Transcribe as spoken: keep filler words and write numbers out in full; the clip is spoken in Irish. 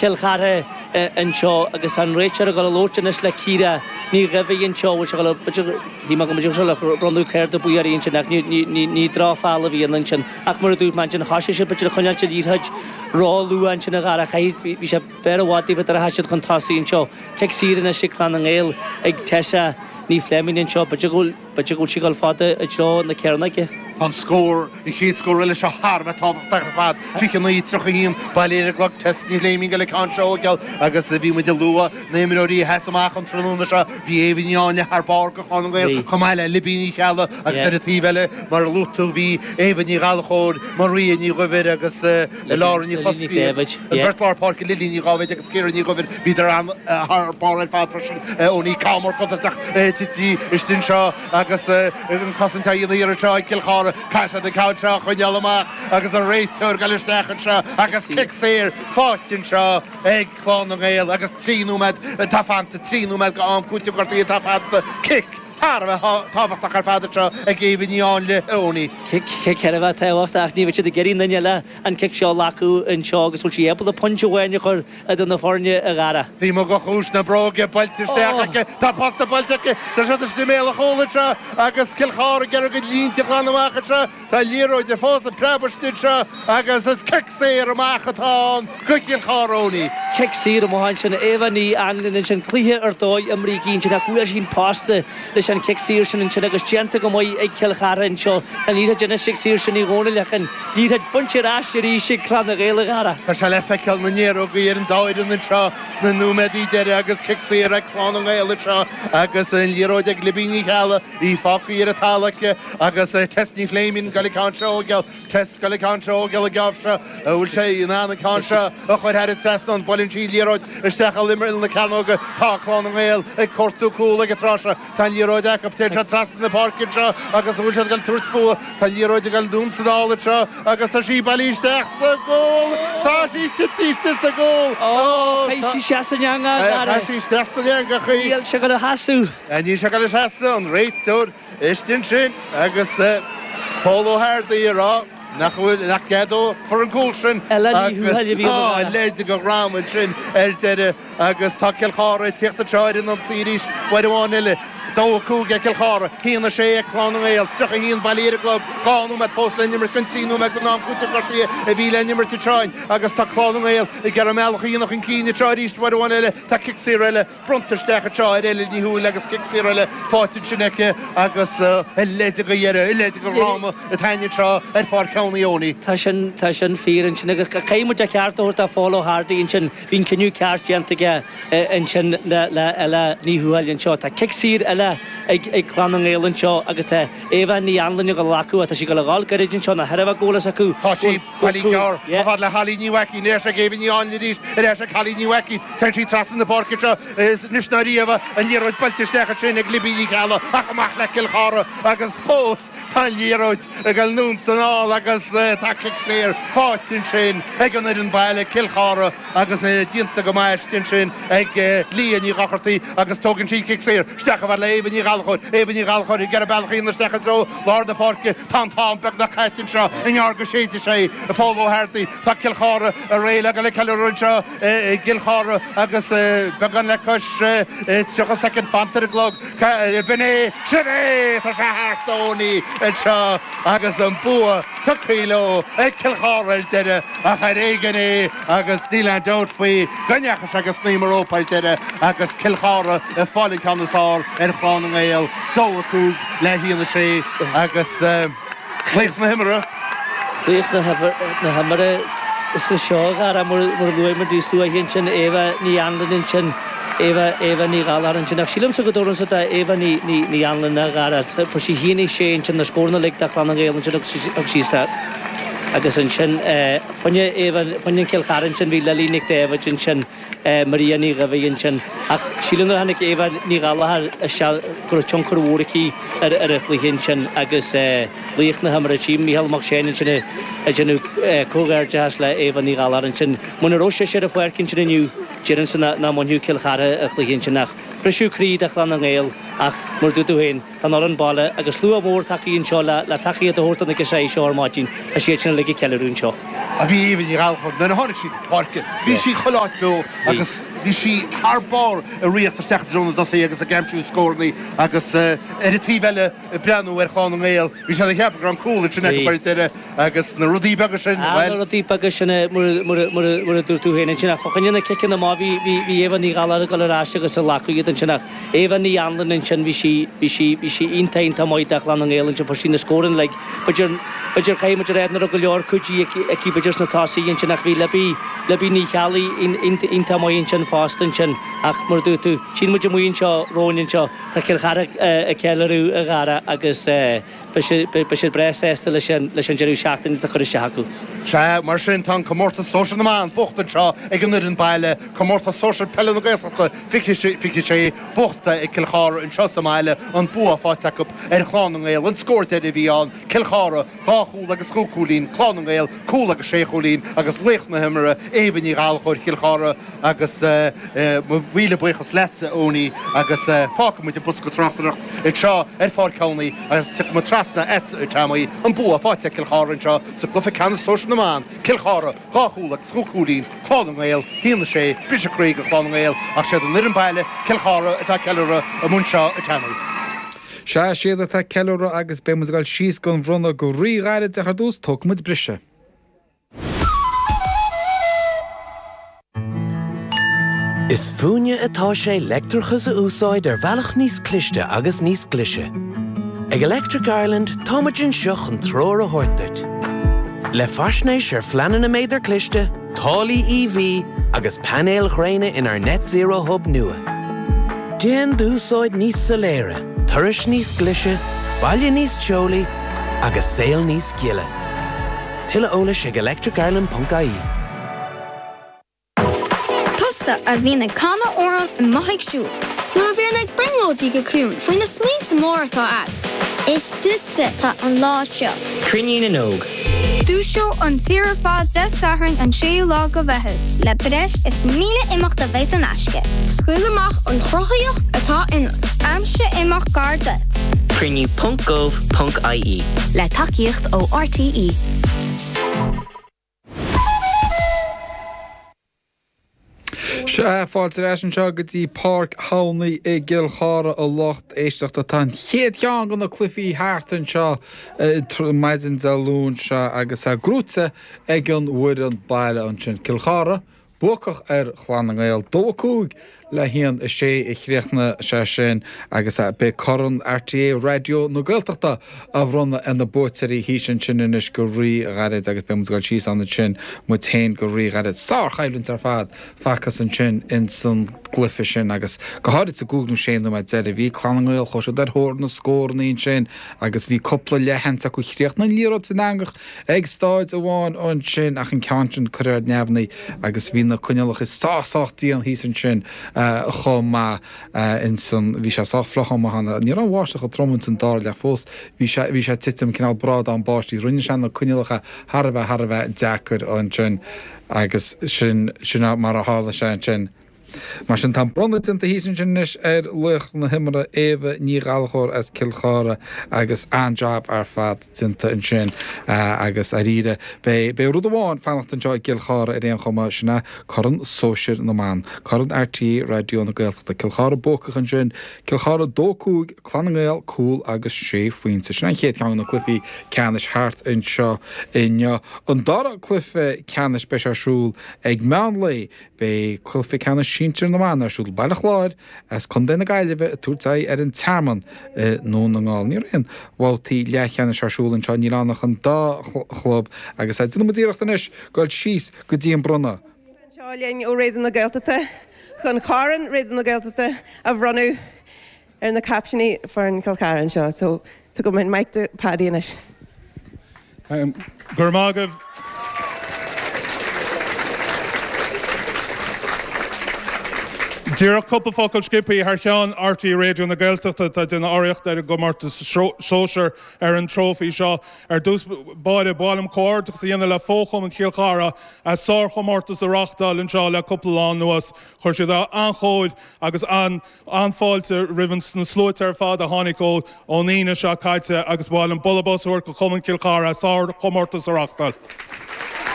Cill Chartha anseo agus an réiteoir ag dul a labhairt anois le Ciara Ní Dhuibhigh anseo, bhfuil sé ag dul, b'fhéidir, shíl mé go mbeadh sé le bronnadh cárta buí uirthi ansin ach ní, ní, ní, ní drochfheall a bhí ann ansin ach mar a dúirt mé ansin thosaigh siad b'fhéidir ag coinneáilt an liathróid ró-luath ansin a Dhara, chaithfidh, bhí sé b'fhearr i bhfad daofa nuair a sheas siad chun tosaigh anseo. Cic saor anois ag Clann na nGael ag Tessa Ní Phléimín anseo, b'fhéidir go bhfuil, b'fhéidir go bhfuil sí ag dul fada i dtreo na cearnóige. Tá an scór, an chéad scór eile seo thar a bheith tábhachtach ar fad, fiche a naoi, tríocha a haon, bailithe ar an gclog, Tess Ní Phléimín ag dul an ceann seo a thógáil agus bhí muid ag lua na himreoirí a sheas amach an tráthnóna seo, bhí Éabha Ní Áinle thar barr do Chlann na nGael chomh maith le Libby Ní Cheallaigh agus ar an taobh eile mar a luaigh tú bhí Éabha Ní Ghallchóir, Maria Ní Dhuibhir agus Laura Ní Choscaí agus an bheirt lár páirce Lily Ní Dháibhéid agus Ciara Ní Dhuibhir, bhíodar thar barr ar fad freisin. Owenie Camar contúirteach tite istigh anseo agus an cosaint á dhéanamh thiar anseo ag Cill Chartha. Caithfidh siad an ceann seo a choinneáil amach agus an réiteoir ag dul isteach anseo agus cic saor faighte anseo ag Clann na nGael agus trí nóiméad atá fanta, trí nóiméad go am cúitimh gortaithe atá fanta. Cic thar a bheith tábhachtach ar fad anseo ag Éabha Ní Áinle, Owenie. Cic thar a bheith tábhachtach ach ní bheidh siad ag iarraidh aon duine eile an cic seo a ghlacadh anseo agus bhfuil sí ábalta pointe amháin a chur idir na foirne a Dhara. Bhí mo chúis na bróige buailte isteach aici. Tá posta buailte aici. Tá siad istigh i mbéal an chúil anseo agus Cill Chartha ag iarraidh a gcuid línte a ghlanadh amach anseo. Tá liathróid fós ag preabadh istigh anseo agus is cic saor amach atá ann go Cill Chartha, Owenie. Cic saor amach ansin. Éabha Ní Anluain ansin. Cluiche ar dóigh imrithe aici ansin ach bhuail sí an posta leis an chic saor sin ansin agus déanta go maith ag Cill Chartha anseo. Tá an liathróid anois ag Saoirse Ní Dhomhnaill ach an liathróid bainte ar ais arís ag Clann na nGael a Dhara. Tá sé le feiceáil na néarógaí ar an dá fhoireann anseo sna nóiméadaí deiridh agus cic saor ag Clann na nGael anseo agus an liathróid ag Libby Ní Cheallaigh, í fágtha ar an talamh aici agus Tess Ní Phléimín ag dul an ceann seo a thógáil. Tess ag dul an ceann seo a thógáil an geábh seo. An bhfuil sé in ann an ceann seo a chur thar an trasnán? Buaileann sí an liathróid isteach i imeall na cearnóige. Tá Clann na nGael ag cuartú cúl ag an tráth seo. Tá an liathróid acu. Téann siad trasna na páirce anseo agus an bhfuil siad ag dul tabhairt fúthu? Tá an liathróid ag dul anonn is anall anseo agus tá sí bailithe isteach sa gcúl! Tá sí tite istigh sa gcúl! Ó, chaith sí isteach san eangach, a Dhara. Chaith sí isteach san eangach í. Níl sé ag dul a sheasamh. Níl sé ag dul a sheasamh, an réiteoir istigh ansin agus Pól Ó hArdaí ag rá nach bhfuil, nach gceadófar an cúl sin Ella Ní Thuathail a agus bhí ann, a tá Dhara. leid de dhream ansin ar deireadh agus tá Cill Chartha ag tíocht anseo ar an ionsaí arís uair amháin eile. Dó a cúig ag Cill Chartha, haon a sé ag Clann na nGael, tríocha a haon bailithe ar an gclog, dhá nóiméad fós le n-imirt den trí nóiméad den am cúitimh gortaithe a bhí le n-imirt anseo agus tá Clann na nGael ag iarraidh a mbealach a dhéanamh chun cinn anseo arís uair amháin eile. Tá cic saor eile bronnta isteach anseo ar Ella Ní Thuathail agus cic saor eile faighte ansin aici agus a leithéid de dheireadh, a leithéid de dhráma atá ann anseo ar Pháirc Sheánie Owenie. Tá sin, tá sin fíor ansin agus caithfidh muid a cheart a thabhairt do Phól Ó hArdaí ansin, bhí an cinneadh ceart déanta aige ansin le le Ella Ní Thuathail anseo. Tá cic saor eile ag ag Clann na nGael anseo agus tá Éabha Ní Anluain ag dul a ghlacadh, tá sí ag dul a dhul gairid anseo, ná thairbhe go bhfuil fhios acu Tá sí go bailithe gearr yeah. chomh fada le Holly Ní Mhaicín, ar ais ag Éabha Ní Anluain arís, ar ais ag Holly Ní Mhaicín. Téann sí trasna na páirce anseo is anois ná riamh an liathróid buailte isteach ansin ag Libby Ní Cheallaigh ach amach le Cill Chartha agus fós tá an liathróid ag dul anonn is anall agus tá cic saor faighte ansin ag an fhoireann baile, Cill Chartha agus déanta go maith istigh ansin ag Leah Ní Dhochartaigh agus tógann sí cic saor isteach chomh fada le Éabha Ní Ghallchóir, Éabha Ní Ghallchóir ag iarraidh bealach a dhéanamh isteach i dtreo lár na páirce. Tá an t-am beagnach caite anseo i ngearr go séidfidh sé Pól Ó hArdaí. Tá Cill Chartha réidh le dul ag ceiliúradh anseo i gCill Chartha agus beagán le cois tríocha soicind fanta ar an gclog. B'in é, sin é! Tá sé thart, Owenie, anseo agus an bua tugtha leo ag Cill Chartha ar deireadh ach ar éigean é agus níl aon dabht faoi go ndeachaigh sé go snaidhm an rópa ar deireadh agus Cill Chartha ag fáil an ceann is fearr ar Chlann na nGael, dó a cúig le haon a sé agus laoch na himeartha. Laoch na himeartha is go seo, a Dhara, mar a luaigh muid níos luaithe ansin, Éabha Ní Anluain ansin, Éabha, Éabha Ní Ghallchóir ansin. Ach sílimse go dtabharfainnse do Éabha Ní, Ní, Ní Anluain, a Dhara. Fuair sí haon a sé ansin, na scóranna uilig do Chlann na nGael ansin agus thug sí agus ansin fá choinne Éabha, fá choinne Cill Chartha ansin bhí Lily Nic Dáibhid ansin, Maria Ní Dhuibhigh ansin. Ach sílim nuair a tháinig Éabha Ní Ghallchóir isteach go raibh tionchar mhór aici ar ar an chluiche ansin agus laoch na himeartha, tchím Mícheál Mac Seáin ansin ag déanamh comhghairdeachas le Éabha Ní Ghallchóir ansin. Muna raibh sise ar an pháirc ansin inniu, déarfainnse nach mbainfeadh Cill Chartha an chluiche ansin ach briseadh croí do Chlann na nGael ach mar a dúirt tú féin, Tá an fhoireann baile agus slua mór tagtha anseo le tacaíocht a thabhairt do na girseachaí seo ar maidin. Tá siad sin uilig ag ceiliúradh anseo. A bhí Éabha Ní Ghallchóir nuair a tháinig sí chun páirce, bhí sí chuile áit beo agus bhí sí thar barr ag rith isteach i dtreo na dtosaithe agus ag aimsiú scóranna agus ar an taobh eile ag breathnú ar Chlann na nGael, bhí siad ag ceapadh go raibh an cúl ansin acu ar deireadh agus na rudaí beaga sin, bhuel. Na rudaí beaga sin mar a dúirt tú féin ansin ach fá choinne na ciceanna amach bhí bhí Éabha Ní Ghallchóir ag dul ar ais agus ag glacadh iad ansin ach Éabha Ní Anluain ansin bhí sí bhí sí bhí sí iontach iontach maith do Chlann na nGael ansin fuair sí na scóranna like b'fhéidir B'fhéidir, caithfidh muid a rá nach raibh go leor cuidiú aici b'fhéidir sna tosaithe ansin ach bhí Libby, Libby Ní Cheallaigh iontach maith ansin fosta ansin ach mar a dúirt tú, tchíonn muid amuigh anseo romhainn anseo, tá Cill Chartha ag ceiliúradh a Dhara agus beidh siad breá sásta leis an deireadh seachtaine atá curtha isteach acu. Sea, mar sin tá an comórtas sóisir na mban buachta anseo ag an fhoireann baile, comórtas sóisir peile na Gaeltachta fiche fiche sé buachta ag Cill Chartha anseo sa mbaile, an bua faighte acu ar Chlann na nGael, an scór deiridh a bhí ann, Cill Chartha, dhá chúl agus chúig chúilín, Clann na nGael, cúl agus sé chúilín agus laoch na himeartha, Éabha Ní Ghallchóir, Chill Chartha agus mo mhíle buíochas leatsa, a Eoiní, agus fágfaidh muid an bosca tráchtaireachta anseo ar Pháirc Thamhnaigh agus tiocfaidh muid trasna agatsa, a Tommy, an bua faighte ag Cill Chartha anseo sa gcluiche ceannais sóisir na mban, Cill Chartha, dhá chúl agus chúig chúilín, Clann na nGael, haon a sé, briseadh croí do Chlann na nGael ach siad an fhoireann baile, Cill Chartha, atá ag ceiliúradh amuigh anseo, a Tommy. Sea, siad atá ag ceiliúradh agus beidh muid ag dul síos don bhronnadh go rí-ghairid ach ar dtús tógfaidh muid briseadh. Is fúinne atá sé leictreachas a úsáid ar bhealach níos cliste agus níos glaise. Ag Electric Ireland táimid anseo chun treoir a thabhairt duit. Le faisnéis ar phleananna méadar cliste, táillí E V agus painéil ghréine inár Net Zero Hub nua. Déan d'úsáid níos soiléire, turais níos glaise, baile níos teolaí agus saol níos gile. Tuilleadh eolais ag electricireland ponc I E. Tusa a bhíonn ag canadh amhrán amuigh ag siúl. Nó a bhíonn ag brionglóidí go ciúin faoi na smaointe móra atá agat. Is duitse atá an lá seo. Cruinniú na nÓg. Dúiseoidh an tír ar fad Dé Sathairn an séú lá de Mheitheamh. Le breis is míle imeacht a bheidh in aisce. Scaoil amach an chruthaíocht atá ionat. Aimsigh imeacht gar duit. Cruinniú ponc gov ponc I E. Le tacaíocht ó R T E. Sea, fáilte ar ais anseo go dtí Páirc Thamhnaigh i gCill Chartha, a lucht éisteachta. Tá an chéad cheann de na cluichí thart anseo maidin Dé Luain seo agus é gnóite ag an bhfoireann baile ansin. Cill Chartha buacach ar Chlann na nGael, dó a cúig le haon a sé a chríochnaigh sé sin agus beidh Corn R T É Raidió na Gaeltachta á bhronnadh ar na buaiteoirí thíos ansin anois go rí-ghairid agus beidh muid ag dul síos ann ansin muid féin go rí-ghairid. Sárchoimhlint ar fad facthas ansin ins an gcluiche sin agus go háirid sa gcúig nó sé nóiméad deiridh bhí Clann na nGael, chuaigh siad ar thóir na scóranna ansin agus bhí cúpla leathsheans acu. Chríochnaigh an liathróid san eangach ag staid amháin ansin ach an ceann sin curtha ar neamhní agus bhí na coinníollacha sách sách dian thíos ansin chomh maith insan bhí sé sách fliuch amach ann. Ní raibh an bháisteach chomh trom ins an dara leath fós, bhí sé bhí sé ag titim cineál brádán báistí, rinne sé na coinníollacha thar a bheith thar a bheith deacair ansin agus sin sin mar a tharla sé ansin. Mar sin tá bronnadh déanta thíos ansin anois ar laoch na himeartha, Éabha Ní Ghallchóir as Cill Chartha, agus an-jab ar fad déanta ansin agus dáiríre beidh beidh rud amháin fanacht anseo i gCill Chartha ar aon chuma, sin é Corn Sóisir na mBan, Corn R T É Raidió na Gaeltachta. Cill Chartha buacach ansin, Cill Chartha dó cúig, Clann na nGael cúl agus sé phointe. Sin an chéad cheann de na cluichí ceannais thart anseo inniu. An dara cluiche ceannais, beidh sé ar siúl ag meán lae. Beidh cluiche ceannais sinsir na mban ar siúl, Baile Chláir as Contae na Gaillimhe ag tabhairt aghaidh ar an Tearmann i nDún na nGall. Ní raibh aon bhabhtaí leathcheannais ar siúl anseo, níl ann ach an dá chlub agus déanfaidh muid iarracht anois dul síos go dtí an bronnadh. Anseo linn ó Raidió na Gaeltachta chun Corn Raidió na Gaeltachta a bhronnadh ar na captaeiní foireann Chill Chartha anseo. So tugaim an mic do Paddy anois. Um, Gur mágah. Díreach cúpla focal sciobtha thar cheann R T É Raidió na Gaeltachta atá ag déanamh urraíocht ar an gcomórtas sóisir ar an trófaí seo. Ar dtús báire ba mhaith liom comhghairdeachas a dhéanamh le fo-chumann Chill Chartha as sárchomórtas a reáchtáil anseo le cúpla lá anuas. Chuir siad an-chóir agus an an-fháilte roimh na sluaite ar fad a tháinig ó ón Aoine seo caite agus ba mhaith liom bualadh bos a thabhairt do chumann Chill Chartha sárchomórtas a reáchtáil.